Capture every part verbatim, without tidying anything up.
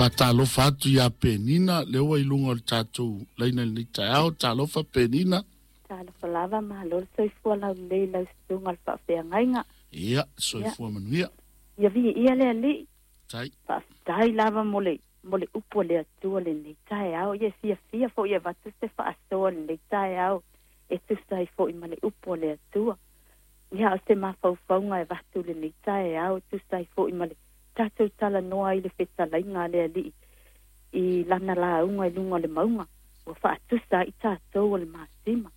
Faatalofa atu iā Penina lea ua i luga o le tatou laina i lenei taeao. Talofa Penina. Talofa lava, malo le soifua laulelei i lau susuga le faafeagaiga. Ia, soifua manuia. Ia viia le Alii. Tai. Faafetai lava mo le mo le upu a le Atua lenei taeao. Ia fiafia foi e avatu se faasoa lenei taeao e tusa ai foi ma le upu a le Atua. Ia o se mafaufauga e avatu lenei taeao e tusa ai foi ma le tatou talanoa ai le fetalaiga a le Alii i lana lauga i luga o le mauga ua faatusa ai tatou o le masima.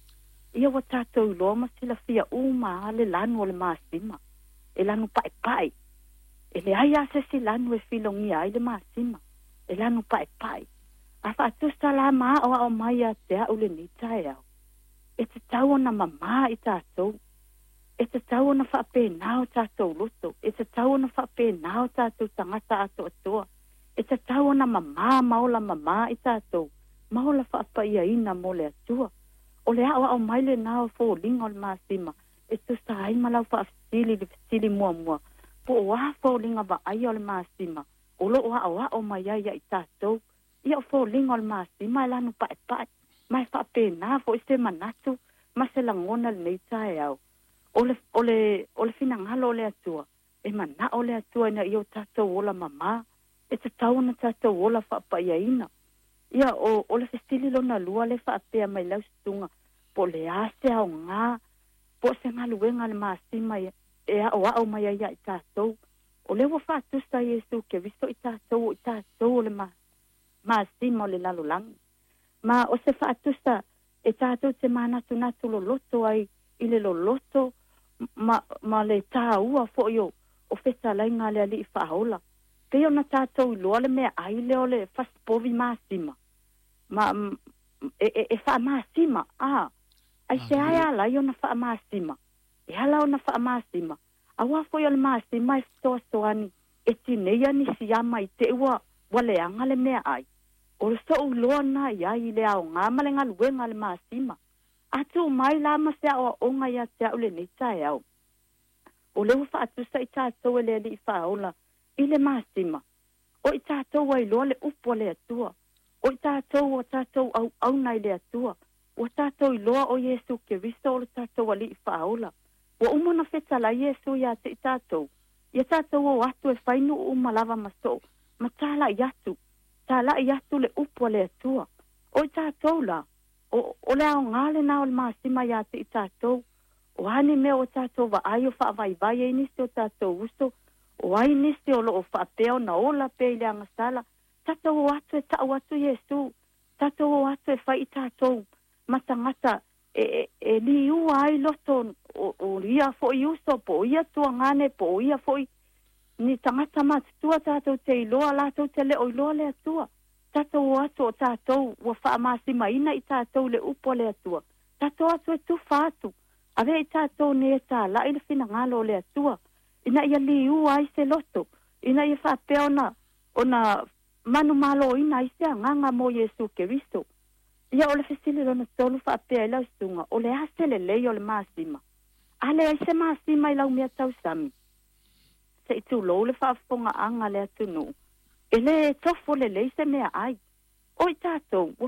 Ia ua tatou iloa ma silafia uma lava le lanu o le masima e lanu paepae. E leai lava se isi lanu e filogia ai le masima e lanu paepae. A faatusa la ma aoao mai ia te au lenei taeao, e tatau ona mamā i tatou, e tatau ona faapena o tatou loto, e tatau ona faapena o tatou tagata atoatoa, e tatau ona mamā ma ola mamā i tatou, ma ola faapaiaina mo le Atua. O le aoao mai lenā o foliga o le masima e tusa ai ma lau faafesili i le fesili muamua, po o a foliga vaaia o le masima o loo aoao mai ai ia i tatou. Ia o foliga o le masima e lanu paepae, ma e faapena foi se manatu ma se lagona lenei taeao. O le, o le, o le finagalo o le Atua, e manao le Atua ina ia o tatou ola mamā, e tatau ona tatou ola faapaiaina. Ia o, o le fesili lona lua le faapea mai lau susuga, po o le a se aoga, po o se galuega a le masima e aoao mai ai ia i tatou. O lea ua faatusa Iesu Keriso i tatou o i tatou o le ma, masima o le lalolagi. Ma o se faatusa e tatou te manatunatu loloto ai i le loloto ma, ma le tāua foi o, o fetalaiga a le Alii faaola. Pei ona tatou iloa le meaai lea o le fasipovi masima. Ma, e, e, e faamasima, a, aisea e ala ai ona faamasima. E ala ona faamasima. Auā foi o le masima e fesoasoani e tineia nisi ama i te i ua, ua leaga le meaai. O le so'u iloa lena i ai i le aogā ma le galuega a le masima. A tuu mai la ma se aoaoga ia te au lenei taeao, o lea ua faatusa i tatou e le Alii faaola i le masima, o i tatou ua iloa le upu a le Atua, o i tatou ua tatou auauna i le Atua, ua tatou iloa o Iesu Keriso o le tatou Alii faaola. Ua uma ona fetalai Iesu ia te i tatou, ia tatou o atu e fai nuu uma lava ma soo, ma talai atu, talai atu le upu a le Atua. O i tatou la, o, o le aoga lenā o le masima ia te i tatou. O a ni mea ua tatou vaai o faavaivai ai nisi o tatou uso, o ai nisi o loo faapea ona ola pea i le agasala, tatou o atu e tau atu Iesu, tatou o atu e fai i tatou ma tagata e, e, e liua ai loto o, o ia foi uso, po o ia tuagane, po o ia foi ni tagata matutua tatou te iloa, latou te le o iloa le Atua. Tatou o atu o tatou ua faamasimaina i tatou le upu a le Atua. Tatou atu e tufa atu, avea i tatou nei e talai le finagalo o le Atua, ina ia liua ai se loto, ina ia faapea ona, ona manumaloina ai se agaga mo Iesu Keriso. Ia o le fesili lona tolu faapea i lau susuga, o le a se lelei o le masima? A leai se masima i lau mea tausami, se i tulou le faafofogaaga a le atunuu, e le tofo lelei se meaai. O i tatou ua